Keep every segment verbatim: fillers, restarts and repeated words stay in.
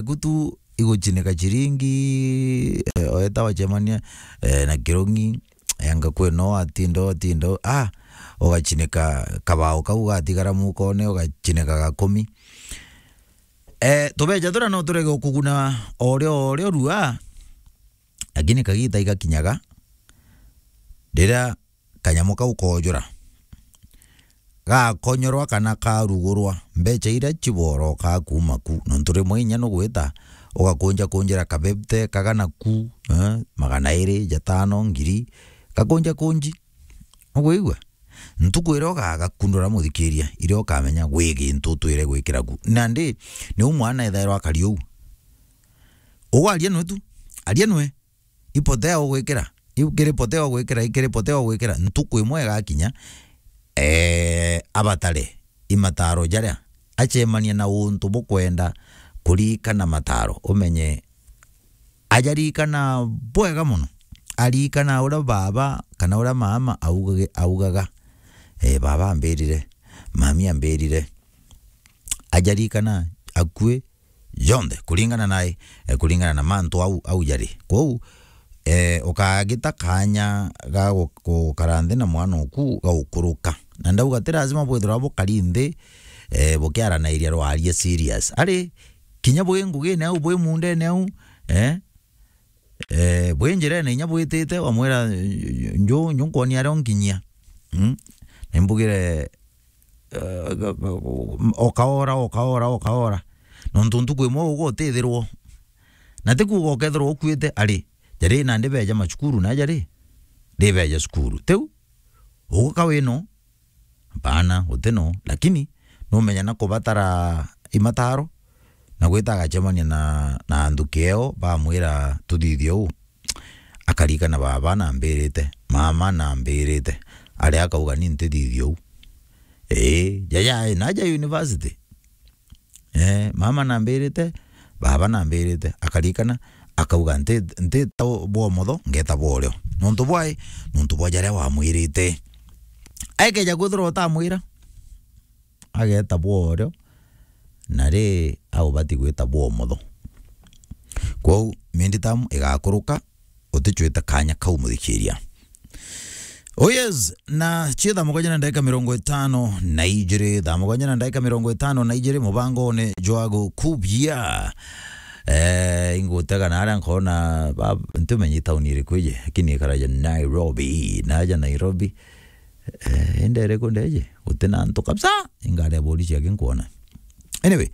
yaku tu iguchinika chiringi, eh, oeta wachemania, eh, na kirungi, yanga kweno atinda, atinda, ah, ugachinika kabao kau gatigara mukone, ugachinika gakumi. Eh, tubeja turia no turege kuguna orio, orio rua, lakini kagita igakinyaga, riria kanyamu kau koojura, gakonyorwa kana karugurwa, mbecha iria chiborokaa kuuma ku, nontu rimwe inya nugwita ugakunja kunjira kabebte kagana ku, eh, magana iri, jatano, ngiri, gakunja kunji. Ugwigua? Ntuku iria ugagakundura muthikiria, iria ukamenya gwi gintu utwire gwikira ku. Nandi, niu mwana ethairwa akari uu. Ugwaria nwe tu, aria nwe. Ipotea ugwikira, iu kiri potea ugwikira, ikiri potea ugwikira, ntuku imwe igakinya, eh, abatare imataro jaria, acemania na untu bukwenda kurikana mataro, umenye ajarikana bwega mono, arikana uria baba kana uria mama augage-, augaga, eh, baba ambirire, mami ambirire, ajarikana akui jonthe, kuringana nae, eh, kuringana na mantu au, au jari. Kwou, eh, ukagita kanya ga gu-, gukara nthi na mwana oku ga gukuruka. Na ndauga ti lazima bwithirwa bukari nthi, eh, bukiaranairia rwaria serious. Ari, kinya bwi ngugine au, bwi mundene au, eh, eh, bwi njirene inya bwitite, wamwira, "Nju, nju nkwonia aria unkinyia." Mm? Na imbugire, eh, okaora, okaora, okaora. Nontu ntuku imwe uga utithirwo. Na ti kuuga ukethirwa ukuite, ari, jari nandi beja macukuru, na jari, ribeja cukuru. Tiu, uguka wino, hapana, guti no. Lakini, numenya na kubatara imataro, na gwita agacemania na, na anthuki eo, bamwira, "Tuthithie uu." Akarikana, "Baba nambirite, mama nambirite." Ari akauga, "Ni ntithithie uu." Ii, jaja, naja university. Eh, mama nambirite, baba nambirite. Akarikana, akauga, "Nti-, ntita bwa umotho, ngeta bwa urio." Nontu bwai, nontu bwa jaria wamwirite. Aikeja kwithirwa utamwira, ageta bwa urio, na ri aubati gwita bwa umotho. Kwou, mindi tamu igakuruka, utichwite kanya kau muthikiria. Oh yes, na cio thaa mugwanja na ndagika mirongo itano na ijiri, thaa mugwanja na ndagika mirongo itano na ijiri, mubangone jwa gukubia. Eh, ingutega na aria nkona, ba, ntimenye tauni iriku iji, lakini ikaraja Nairobi, naja Nairobi. Eh, ende iriku ndeje? Guti na antu kabisa, ingari ya borisi aki nkwona. Anyway,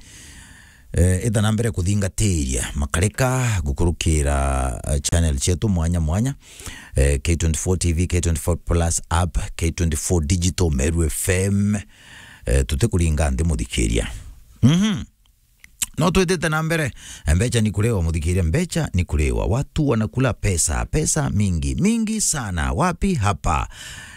eh, ita na mbere kuthingatiria makareka gukurukira, eh, channel cietu mwanya mwanya, eh, K twenty-four T V, K twenty-four Plus app, K twenty-four Digital, Meru F M, eh, tutikuringa nthi muthikiria. Mhm. No twitite na mbere. Mbecha ni kuliwa, muthikiria, mbecha ni kuliwa. Watu wanakula pesa, pesa mingi, mingi sana. Wapi? Hapa.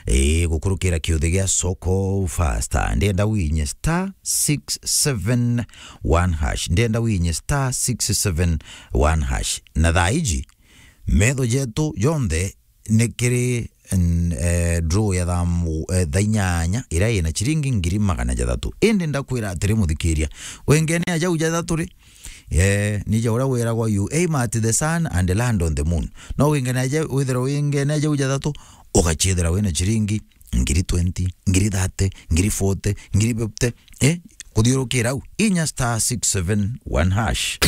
Ii, gukurukira kiuthi gia Soko Fasta. Ndienda winye star six seven one hash. Ndienda winye star six seven one hash. Na thaa iji, metho jetu jonthe ni kiri, n-, eh, draw ya thaa mu-, eh, thaa inyanya, iria ina chiringi ngiri magana jathatu. Indi ndakwira atiri, muthikiria, wingene aja jau jathatu ri, eh, ni ja uria wiragwa, "You aim at the sun and land on the moon." No wingene aja, withirwa wingene aja jau jathatu, ugachithira wina chiringi ngiri twenty, ngiri thirty, ngiri forty, ngiri fifty, eh, kuthiurukira au. Inya star six seven one hash.